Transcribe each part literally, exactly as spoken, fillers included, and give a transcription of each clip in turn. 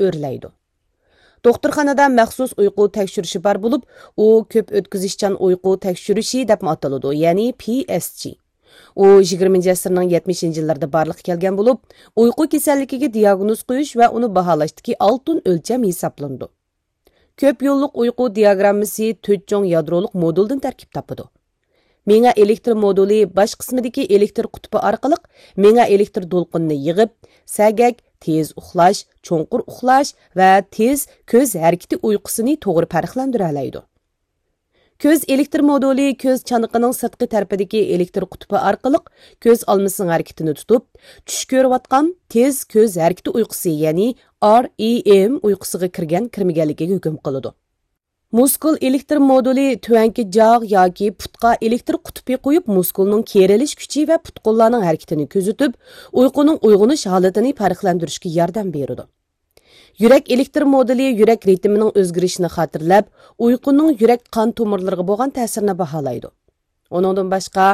ئۆرلەيدۇ. دوختۇرخانىدا مەخسۇس ئۇيقۇ تەكشۈرۈشى بار بولۇپ، ئۇ كۆپ ئۆتكۈزۈشچان ئۇيقۇ تەكشۈرۈشى دەپمۇ ئاتىلىدۇ، يەنى پى ئېس جى. ئۇ يىگىرمىنچى ئەسىرنىڭ يەتمىشىنچى يىللىرىدا بارلىققا كەلگەن بولۇپ، ئۇيقۇ كېسەللىكىگە دىياگنوز قويۇش ۋە ئۇنى باھالاشتىكى ئالتۇن ئۆلچەم ھېسابلىنىدۇ. كۆپ يوللۇق ئۇيقۇ دىياگراممىسى تۆت چوڭ يادرولۇق مودۇلدىن تەركىب تاپىدۇ. مېڭە ئېلېكتر مودۇلى باش قىسمىدىكى ئېلېكتر قۇتۇپى ئارقىلىق مېڭە ئېلېكتر دولقۇنىنى يىغىپ، سەگەك، تېز ئۇخلاش، چوڭقۇر ئۇخلاش ۋە تېز كۆز ھەرىكىتى ئۇيقۇسىنى توغرا پەرقلەندۈرەلەيدۇ. كۆز ئېلېكتر مودۇلى كۆز چانىقىنىڭ سىرتقى تەرىپىدىكى ئېلېكتر قۇتۇپى ئارقىلىق كۆز ئالمىسىنىڭ ھەرىكىتىنى تۇتۇپ، چۈش كۆرۈۋاتقان تېز كۆز ھەرىكىتى ئۇيقۇسى، يەنى ئار ئى ئېم ئۇيقۇسىغا كىرگەن كىرمىگەنلىكىگە ھۆكۈم قىلىدۇ. مۇسكۇل ئېلېكتر مودۇلى تۆۋەنكى جاغ ياكى پۇتقا ئېلېكتر قۇتۇپى قويۇپ، مۇسكۇلنىڭ كېرىلىش كۈچى ۋە پۇت-قوللارنىڭ ھەرىكىتىنى كۆزىتىپ، ئۇيقۇنىڭ ئويغىنىش ھالىتىنى پەرقلەندۈرۈشكە ياردەم بېرىدۇ. يۈرەك ئېلېكتر مودۇلى يۈرەك رىتىمىنىڭ ئۆزگىرىشىنى خاتىرىلەپ، ئۇيقۇنىڭ يۈرەك قان تومۇرلىرىغا بولغان تەسىرىنى باھالايدۇ. ئۇنىڭدىن باشقا،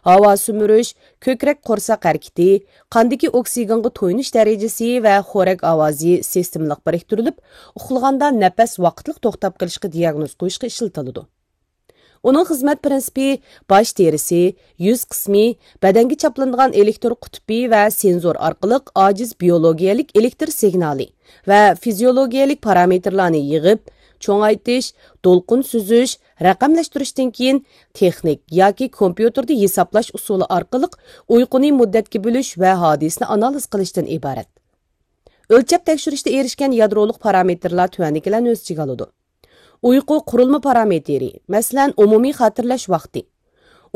ھاۋا سۈمۈرۈش، كۆكرەك قورساق ھەرىكىتى، قاندىكى ئوكسىگېنغا تويۇنۇش دەرىجىسى ۋە خورەك ئاۋازى سىستېمىلىق بىرىكتۈرۈلۈپ، ئۇخلىغاندا نەپەس ۋاقىتلىق توختاپ قېلىشقا دىياگنوز قويۇشقا ئىشلىتىلىدۇ. ئۇنىڭ خىزمەت پىرىنسىپى باش تېرىسى، يۈز قىسمى، بەدەنگە چاپلىنىدىغان ئېلېكتر قۇتۇپى ۋە سېنزور ئارقىلىق ئاجىز بىيولوگىيەلىك ئېلېكتر سىگنالى ۋە فىزىيولوگىيەلىك پارامېتىرلارنى يىغىپ، چوڭايتىش، دولقۇن سۈزۈش، رەقەملەشتۈرۈشتىن كېيىن، تېخنىك ياكى كومپيۇتېردا ھېسابلاش ئۇسۇلى ئارقىلىق ئۇيقۇنى مۇددەتكە بۆلۈش ۋە ھادىسىنى ئانالىز قىلىشتىن ئىبارەت. ئۆلچەپ تەكشۈرۈشتە ئېرىشكەن يادرولۇق پارامېتىرلار تۆۋەندىكىلەرنى ئۆز ئىچىگە ئالىدۇ. ئۇيقۇ قۇرۇلما پارامېتىرى، مەسىلەن، ئومۇمىي خاتىرىلەش ۋاقتى،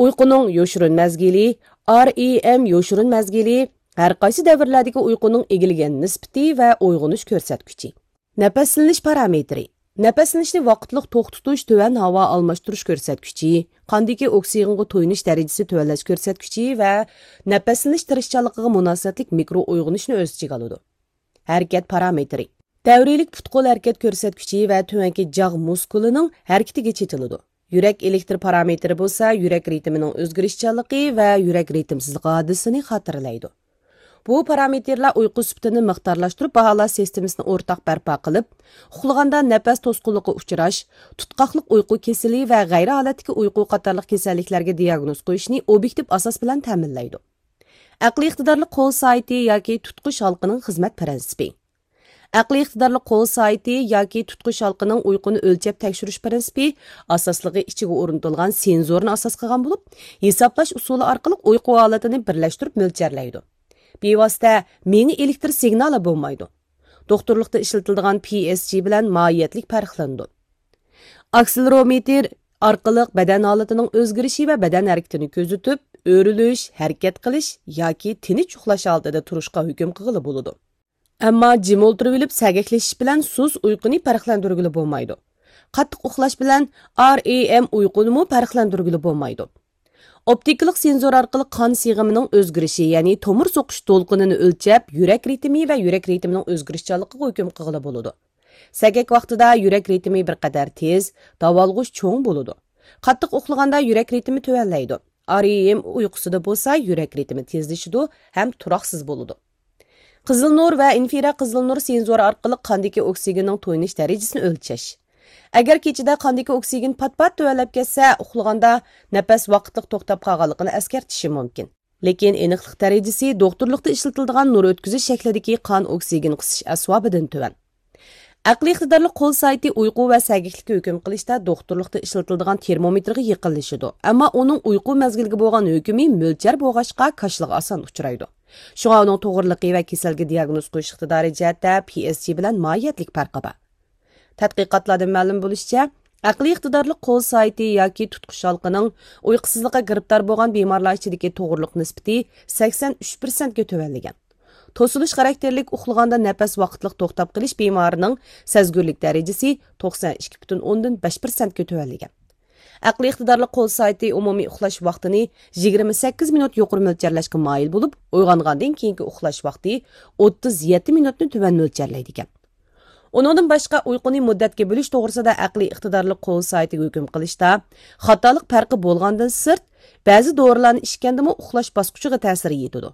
ئۇيقۇنىڭ يوشۇرۇن مەزگىلى، ئار ئى ئېم يوشۇرۇن مەزگىلى، ھەر قايسى دەۋرلەردىكى ئۇيقۇنىڭ ئىگىلىگەن نىسبىتى ۋە ئويغىنىش كۆرسەتكۈچى. نەپەسلىنىش پارامېتىرى، نەپەسلىنىشنى ۋاقىتلىق توختىتىش، تۆۋەن ھاۋا ئالماشتۇرۇش كۆرسەتكۈچى، قاندىكى ئوكسىگېنغا تويۇنۇش دەرىجىسى تۆۋەنلەش كۆرسەتكۈچى ۋە نەپەسلىنىش تىرىشچانلىقىغا مۇناسىۋەتلىك مىكرو ئويغىنىشنى ئۆز ئىچىگە ئالىدۇ. ھەرىكەت پارامېتىرى. دەۋرىيلىك پۇت-قول ھەرىكەت كۆرسەتكۈچى ۋە تۆۋەنكى جاغ مۇسكۇلىنىڭ ھەرىكىتىگە چېتىلىدۇ. يۈرەك ئېلېكتر پارامېتىرى بولسا يۈرەك رىتىمىنىڭ ئۆزگىرىشچانلىقى ۋە يۈرەك رىتىمسىزلىقى ھادىسىنى خاتىرىلەيدۇ. بۇ پارامېتىرلار ئۇيقۇ سۈپىتىنى مىقدارلاشتۇرۇپ، باھالاش سىستېمىسىنى ئورتاق بەرپا قىلىپ، ئۇخلىغاندا نەپەس توسقۇنلۇقىغا ئۇچراش، تۇتقاقلىق ئۇيقۇ كېسىلى ۋە غەيرىي ھالەتتىكى ئۇيقۇ قاتارلىق كېسەللىكلەرگە دىياگنوز قويۇشنى ئوبيېكتىپ ئاساس بىلەن تەمىنلەيدۇ. ئەقلىي ئىقتىدارلىق قول سائىتى ياكى تۇتقۇچ ھالقىنىڭ خىزمەت پىرىنسىپى. ئەقلىي ئىقتىدارلىق قول سائىتى ياكى تۇتقۇچ ھالقىنىڭ ئۇيقۇنى ئۆلچەپ تەكشۈرۈش پىرىنسىپى ئاساسلىقى ئىچىگە ئورنىتىلغان سېنزورنى ئاساس قىلغان بولۇپ، ھېسابلاش ئۇسۇلى ئارقىلىق ئۇيقۇ ھالىتىنى بىرلەشتۈرۈپ مۆلچەرلەيدۇ. بىۋاسىتە مېڭە ئېلېكتر سىگنالى بولمايدۇ. دوختۇرلۇقتا ئىشلىتىلىدىغان پى ئېس جى بىلەن ماھىيەتلىك پەرقلىنىدۇ. ئاكسېلېرومېتىر ئارقىلىق بەدەن ھالىتىنىڭ ئۆزگىرىشى ۋە بەدەن ھەرىكىتىنى كۆزىتىپ، ئۆرۈلۈش، ھەرىكەت قىلىش ياكى تىنچ ئۇخلاش ھالىتىدە تۇرۇشقا ھۆكۈم قىلغىلى بولىدۇ. ئەمما جىم ئولتۇرۇۋېلىپ سەگەكلىشىش بىلەن سۇس ئۇيقۇنى پەرقلەندۈرگىلى بولمايدۇ. قاتتىق ئۇخلاش بىلەن ئار ئى ئېم ئۇيقۇنىمۇ پەرقلەندۈرگىلى بولمايدۇ. ئوپتىكىلىق سېنزور ئارقىلىق قان سىغىمىنىڭ ئۆزگىرىشى، يەنى تومۇر سوقۇش دولقۇنىنى ئۆلچەپ، يۈرەك رىتىمى ۋە يۈرەك رىتىمىنىڭ ئۆزگىرىشچانلىقىغا ھۆكۈم قىلغىلى بولىدۇ. سەگەك ۋاقتىدا يۈرەك رىتىمى بىر قەدەر تېز، داۋالغۇش چوڭ بولىدۇ. قاتتىق ئۇخلىغاندا يۈرەك رىتىمى تۆۋەنلەيدۇ. ئار ئى ئېم ئۇيقۇسىدا بولسا يۈرەك رىتىمى تېزلىشىدۇ ھەم تۇراقسىز بولىدۇ. قىزىل نۇر ۋە ئىنفرا قىزىل نۇر سېنزورى ئارقىلىق قاندىكى ئوكسىگېننىڭ تويۇنۇش دەرىجىسىنى ئۆلچەش. ئەگەر كېچىدە قاندىكى ئوكسىگېن پات-پات تۆۋەنلەپ كەتسە، ئۇخلىغاندا نەپەس ۋاقىتلىق توختاپ قالغانلىقىنى ئەسكەرتىشى مۇمكىن. لېكىن ئېنىقلىق دەرىجىسى دوختۇرلۇقتا ئىشلىتىلىدىغان نۇر ئۆتكۈزۈش شەكلىدىكى قان ئوكسىگېن قىسىش ئەسۋابىدىن تۆۋەن. ئەقلىي ئىقتىدارلىق قول سائىتى ئۇيقۇ ۋە سەگەكلىككە ھۆكۈم قىلىشتا دوختۇرلۇقتا ئىشلىتىلىدىغان تېرمومېتىرغا يېقىنلىشىدۇ، ئەمما ئۇنىڭ ئۇيقۇ مەزگىلىگە بولغان ھۆكمى مۆلچەر بولغاچقا، كاشىلىغا ئاسان ئۇچرايدۇ. شۇڭا ئۇنىڭ توغرىلىقى ۋە كېسەلگە دىياگنوز قويۇش ئىقتىدارى جەھەتتە پى ئېس جى بىلەن ماھىيەتلىك پەرقى بار. تەتقىقاتلاردىن مەلۇم بولۇشىچە، ئەقلىي ئىقتىدارلىق قول سائىتى ياكى تۇتقۇچ ھالقىنىڭ ئۇيقۇسىزلىققا گىرىپتار بولغان بىمارلار ئىچىدىكى توغرىلىق نىسبىتى سەكسەن ئۈچ پىرسەنتكە تۆۋەنلىگەن. توسۇلۇش خاراكتېرلىك ئۇخلىغاندا نەپەس ۋاقىتلىق توختاپ قېلىش بىمارىنىڭ سەزگۈرلۈك دەرىجىسى توقسەن ئىككى پۈتۈن ئوندىن بەش پىرسەنتكە تۆۋەنلىگەن. ئەقلىي ئىقتىدارلىق قول سائىتى ئومۇمىي ئۇخلاش ۋاقتىنى يىگىرمە سەككىز مىنۇت يۇقىرى مۆلچەرلەشكە مايىل بولۇپ، ئويغانغاندىن كېيىنكى ئۇخلاش ۋاقتى ئوتتۇز يەتتە مىنۇتنى تۆۋەن مۆلچەرلەيدىكەن. ئۇنىڭدىن باشقا، ئۇيقۇنى مۇددەتكە بۆلۈش توغرىسىدا ئەقلىي ئىقتىدارلىق قول سائىتىگە ھۆكۈم قىلىشتا خاتالىق پەرقى بولغاندىن سىرت، بەزى دورىلارنى ئىچكەندىمۇ ئۇخلاش باسقۇچىغا تەسىرى يېتىدۇ.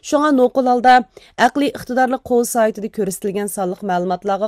شۇڭا نوقۇل ھالدا ئەقلىي ئىقتىدارلىق قول سايتىدا كۆرسىتىلگەن سانلىق مەلۇماتلارغا